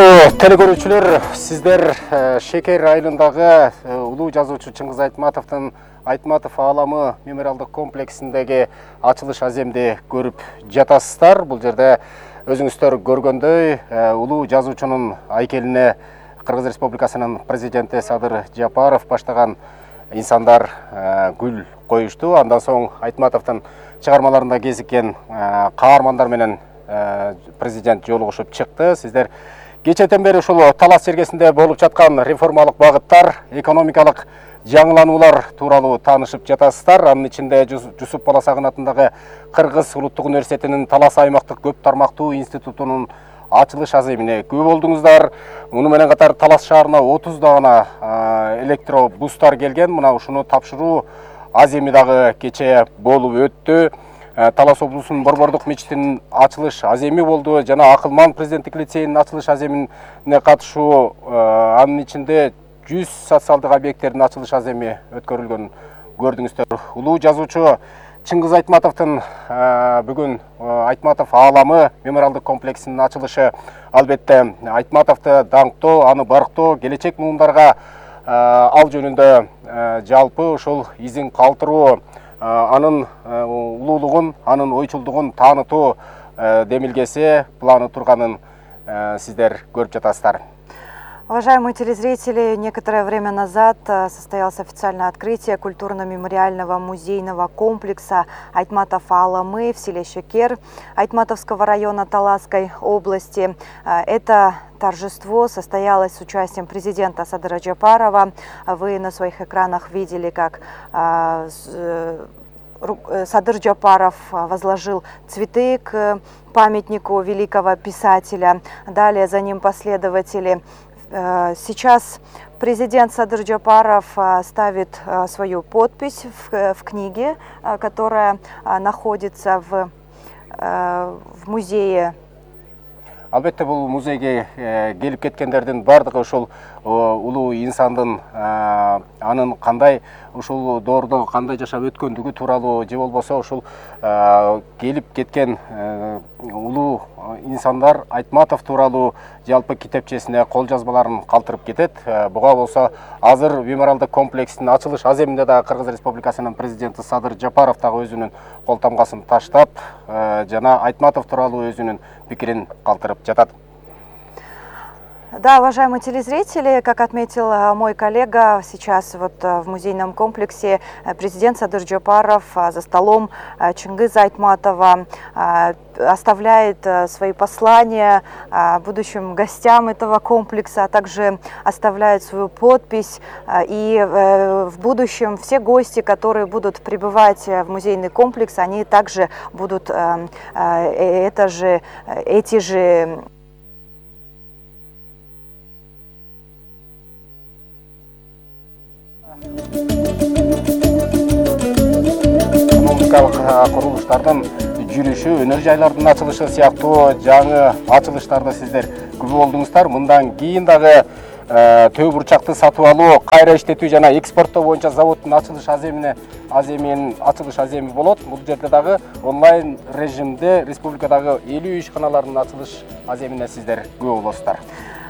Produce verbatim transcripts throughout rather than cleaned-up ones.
Урматтуу телекөрүүчүлөр, сиздер Шекер айылындагы улуу жазуучу Чыңгыз Айтматовдун Айтматов ааламы мемориалдык комплексиндеги ачылыш аземди көрүп жатасыздар. Бул жерде өзүңүздөр көргөндөй улуу жазуучунун айкелине Кыргыз Республикасынын президенти Садыр Жапаров баштаган инсандар гүл коюшту. Андан соң Айтматовдун чыгармаларында кезиккен каармандар менен президент жолугушуп чыкты. Сиздер кечээден бери ушул талас чергесинде болуп жаткан реформалык багыттар, экономикалык жаңылануулар тууралуу таанышып жатасыздар. Анын ичинде Жусуп Баласагын атындагы Кыргыз Улуттук университетинин Талас аймактык көп тармактуу институтунун ачылыш аземине күбө болдуңуздар. Муну менен катар Талас шаарына отузда гана электробустар келген. Мына ушуну тапшыруу аземи дагы кечээ болуп өттү. Талас облусунун Борбордук мечитинин ачылыш аземи болду. Жана Акылман президенттик лицейинин ачылыш аземине катышуу, анын ичинде жүз социалдык объекттердин ачылыш аземи өткөрүлгөн көрдүңүздөр. Улуу жазуучу Чыңгыз Айтматовдун бүгүн Айтматов ааламы мемориалдык комплексинин ачылышы албетте Айтматовду даңктоо, аны барктоо, келечек муундарга ал жөнүндө жалпы ушул изин калтыруу, анын улуулугун, анын ойчулдугун таанытуу демилгеси, планы турганын сиздер көрүп жатасыздар. Уважаемые телезрители, некоторое время назад состоялось официальное открытие культурно-мемориального музейного комплекса Айтматов ааламы в селе Шекер Айтматовского района Таласской области. Это торжество состоялось с участием президента Садыра Жапарова. Вы на своих экранах видели, как Садыр Жапаров возложил цветы к памятнику великого писателя. Далее за ним последователи. Сейчас президент Садыр Жапаров ставит свою подпись в, в книге, которая находится в, в музее. Албетте бул музейге келип кеткендердин бардыгы ушул улуу инсандын анын кандай ушул доордо кандай жашап өткөндүгү тууралуу, же болбосо ушул келип кеткен улуу инсандар Айтматов тууралуу жалпы китепчесине кол жазмаларын калтырып кетет. Буга болсо азыр мемориалдык комплекстин ачылыш аземинде да Кыргыз Республикасынын президенти Садыр Жапаров дагы өзүнүн кол тамгасын таштап, жана Айтматов тууралуу өзүнүн пикирин калтырып жатат. Да, уважаемые телезрители, как отметил мой коллега, сейчас вот в музейном комплексе президент Садыр Жапаров за столом Чыңгыза Айтматова оставляет свои послания будущим гостям этого комплекса, а также оставляет свою подпись. И в будущем все гости, которые будут прибывать в музейный комплекс, они также будут это же, эти же экономикалык курулуштардын жүрүшү, өнөр жайлардын ачылышы сыяктуу жаңы ачылыштарды сиздер күбө болдуңуздар. Мындан кийин дагы төө бурчакты сатып алуу, кайра иштетүү жана экспорттоо боюнча заводдун ачылыш аземине аземинин ачылыш аземи болот. Бул жерде дагы онлайн режимде республикадагы элүү ишканалардын ачылыш аземине сиздер күбө болосуздар.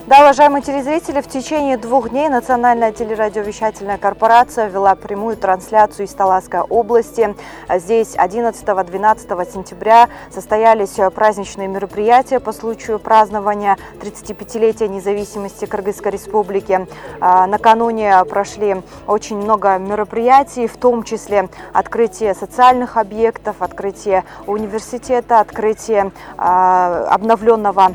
Да, уважаемые телезрители, в течение двух дней Национальная телерадиовещательная корпорация вела прямую трансляцию из Таласской области. Здесь одиннадцатого-двенадцатого сентября состоялись праздничные мероприятия по случаю празднования тридцатипятилетия независимости Кыргызской республики. Накануне прошли очень много мероприятий, в том числе открытие социальных объектов, открытие университета, открытие обновленного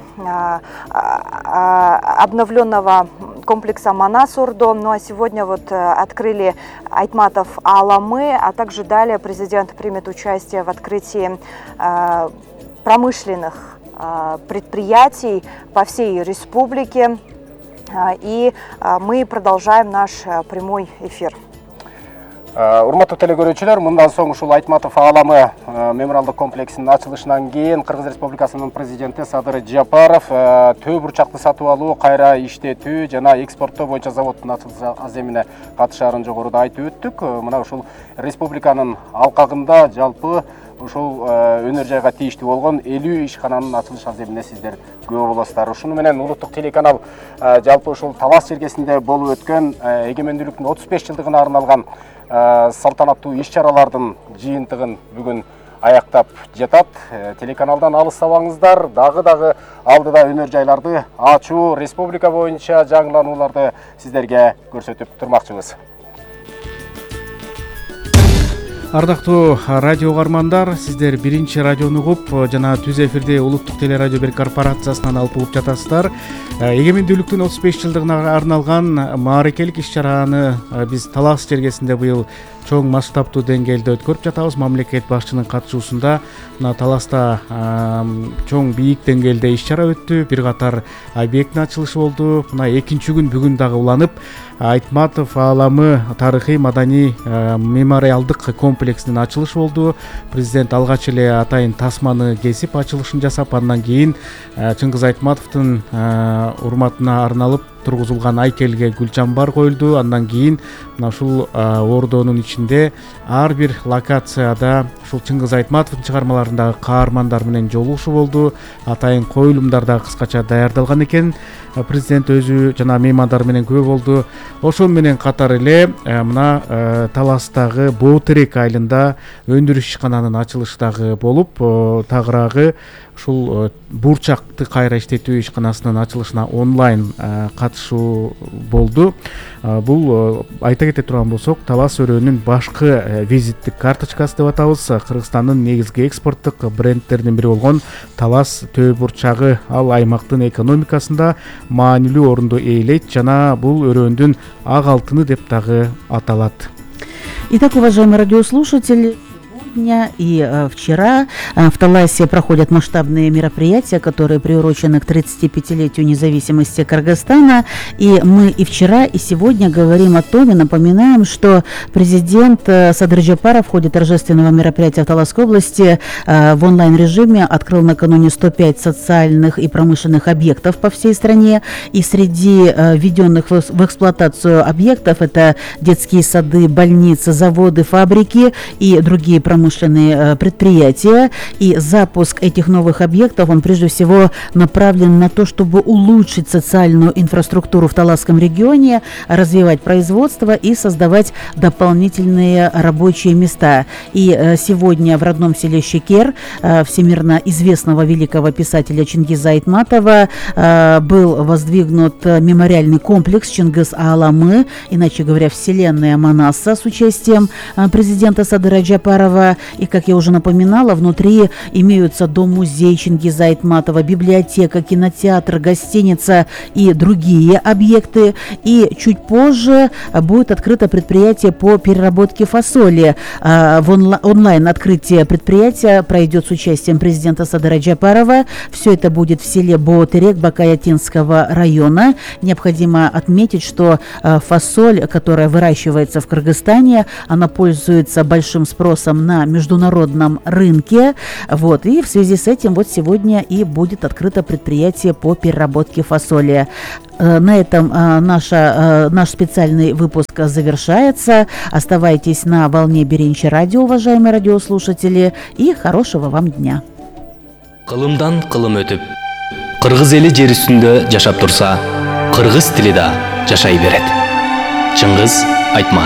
обновленного комплекса Манас-Ордо. Ну а сегодня вот открыли Айтматов ааламы, а также далее президент примет участие в открытии э, промышленных э, предприятий по всей республике. Э, и э, мы продолжаем наш э, прямой эфир. Урматтуу телекөрүүчүлөр, мындан соң ушул Айтматов ааламы мемориалдык комплексинин ачылышынан кийин Кыргыз Республикасынын президенти Садыр Жапаров төө бурчакты сатып алуу, кайра иштетүү жана экспорттоо боюнча заводдун ачылыш аземине катышаарын жогоруда айтып өттүк. Мына ушул республиканын алкагында жалпы ушул өнөр жайга тийиштүү болгон элүү ишкананын ачылыш аземине сиздер күбө болосуздар. Ушуну менен улуттук телеканал жалпы ушул Талас жергесинде болуп өткөн эгемендүүлүктүн отуз беш жылдыгына арналган салтанаттуу иш-чаралардын жыйынтыгын бүгүн аяктап жатат. Телеканалдан алыстабаңыздар, дагы дагы алдыда өнөр жайларды ачуу, республика боюнча жаңыланууларды сиздерге көрсөтүп турмакчыбыз. Ардактуу радио угармандар, сиздер биринчи радиону угуп жана түз эфирде улуттук телерадио бир корпорациясынан алып угуп жатасыздар. Эгемендүүлүктүн отуз беш жылдыгына арналган мааракелик иш-чараны биз Талас жергесинде быйыл чоң масштабтуу деңгээлде өткөрүп жатабыз. Мамлекет башчынын катышуусунда мына Таласта чоң бийик деңгээлде иш-чара өттү. Бир катар объекттин ачылышы болду. Мына экинчи күн бүгүн дагы уланып Айтматов ааламы тарыхый маданий мемориалдык комплексинин ачылышы болду. Президент алгач эле атайын тасманы кесип ачылышын жасап, андан кийин Чыңгыз Айтматовдун урматына арналып тургузулган айкелге гүл чамбар коюлду. Андан кийин мына ушул ордонун ичинде ар бир локацияда ушул Чыңгыз Айтматовдун чыгармаларындагы каармандар менен жолугушуу болду. Атайын коюлумдар да кыскача даярдалган экен. Президент өзү жана меймандар менен күбө болду. Ошол менен катар эле мына Таластагы Боотерек айылында өндүрүш ишкананын ачылышы дагы болуп, тагыраагы ушул бурчакты кайра иштетүү ишканасынын ачылышына онлайн катышуу болду. Бул айта кете турган болсок, Талас өрөөнүн башкы визиттик карточкасы деп атабыз. Кыргызстандын негизги экспорттук брендтеринин бири болгон Талас төө бурчагы ал аймактын экономикасында маанилүү орунду ээлейт жана бул өрөөндүн ак алтыны деп дагы аталат. Итак, уважаемые радиослушатели, сегодня и э, вчера э, в Таласе проходят масштабные мероприятия, которые приурочены к тридцатипятилетию независимости Кыргызстана. И мы и вчера, и сегодня говорим о том и напоминаем, что президент э, Садыр Жапаров в ходе торжественного мероприятия в Таласской области э, в онлайн-режиме открыл накануне сто пять социальных и промышленных объектов по всей стране. И среди э, введенных в, в эксплуатацию объектов это детские сады, больницы, заводы, фабрики и другие промышленные промышленные предприятия, и запуск этих новых объектов, он прежде всего направлен на то, чтобы улучшить социальную инфраструктуру в Таласском регионе, развивать производство и создавать дополнительные рабочие места. И сегодня в родном селе Шекер всемирно известного великого писателя Чингиза Айтматова был воздвигнут мемориальный комплекс Чингиз ааламы, иначе говоря, вселенная Манаса, с участием президента Садыра Жапарова. И, как я уже напоминала, внутри имеются дом-музей Чингиза Айтматова, библиотека, кинотеатр, гостиница и другие объекты. И чуть позже будет открыто предприятие по переработке фасоли. В онлайн открытие предприятия пройдет с участием президента Садыра Жапарова. Все это будет в селе Боотерек Бакаятинского района. Необходимо отметить, что фасоль, которая выращивается в Кыргызстане, она пользуется большим спросом на международном рынке. Вот. И в связи с этим вот сегодня и будет открыто предприятие по переработке фасоли. На этом наша, наш специальный выпуск завершается. Оставайтесь на волне Биринчи радио, уважаемые радиослушатели, и хорошего вам дня. Кылымдан кылым өтүп, кыргыз эли жер үстүндө жашап турса, кыргыз тили да жашай берет. Чыңгыз Айтматов.